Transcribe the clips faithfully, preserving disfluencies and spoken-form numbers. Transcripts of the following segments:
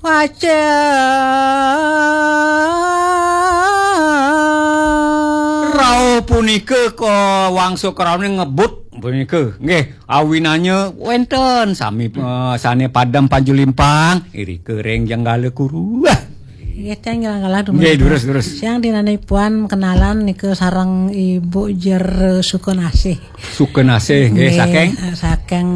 Pacen. Rauh punika ka wangsa krauhane ngebut punika. Nggih, awinanya wenten sami, eh, sane padem panjulimpang, irika ring Jenggala Kuru. Nggih, teng Jenggala Kuru. Nggih, durus, durus. Siang dinane puan kenalan nika sareng Ibu Jer Sukanasih. Sukanasih, nggih, nggih, saking? Eh, saking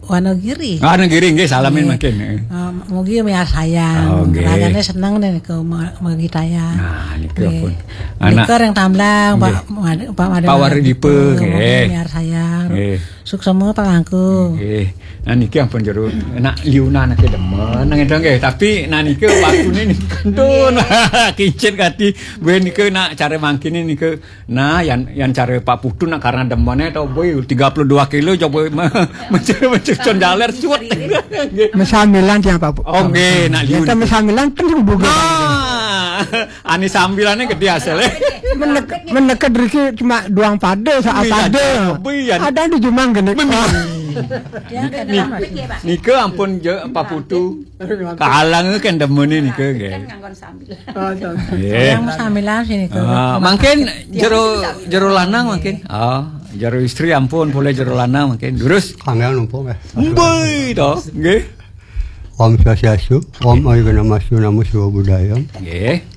Wonogiri. Ah, Wonogiri, nggih, salamin. Nggih. Mangkin, eh. Eh, mugi miarsayang. Oh, nggih. Ragane seneng nika ma-, magitayang. Nah, nika. Nggih. Pun. Anak. Nika ring Tamblang, Pak, nggih. Mad-, Pak Made Pak Wardipa, Wardipa, nggih. Mugi miarsayang. Nggih. Suksema pangangku. Nggih. Nah, niki ampun jero nak liunan ake demen nang itu nggih. Tapi nah nika waktune nika kantun. Kincit kati. Gue nika nak cara mangkine nika. Nah, yang, yang cara Pak Putu nak karena demene to, boy, tiga puluh dua kilo, coba me-, mencuri, mencuri con jaler, suwet. Nggih. Mesamilan siang, Pak Pu-, Oh, nggih, nak liun. Kita mesamilan, penuh buka. Nah, ane sambilane gede hasilnya. Menek-, meneket riki cuma doang pada, saat Iya, pada. Iya. Ada di Jumang gini. Bumi. Dia Ni-, kadang nika ampun je, Pak Putu. Kahalang kan demene nika, nggih. Kan nganggon sambil. Oh, to. Nggih. Yang mesamilan sini ke. Ah, mangkin jero, jero lanang mangkin. Ah, jero istri ampun, boleh jero lanang mangkin. Durus. Kangge numpuk, eh. Mbui to, nggih. Om Swastiastu, Om Awighnamastu, Namo Siwa Budaya. Nggih.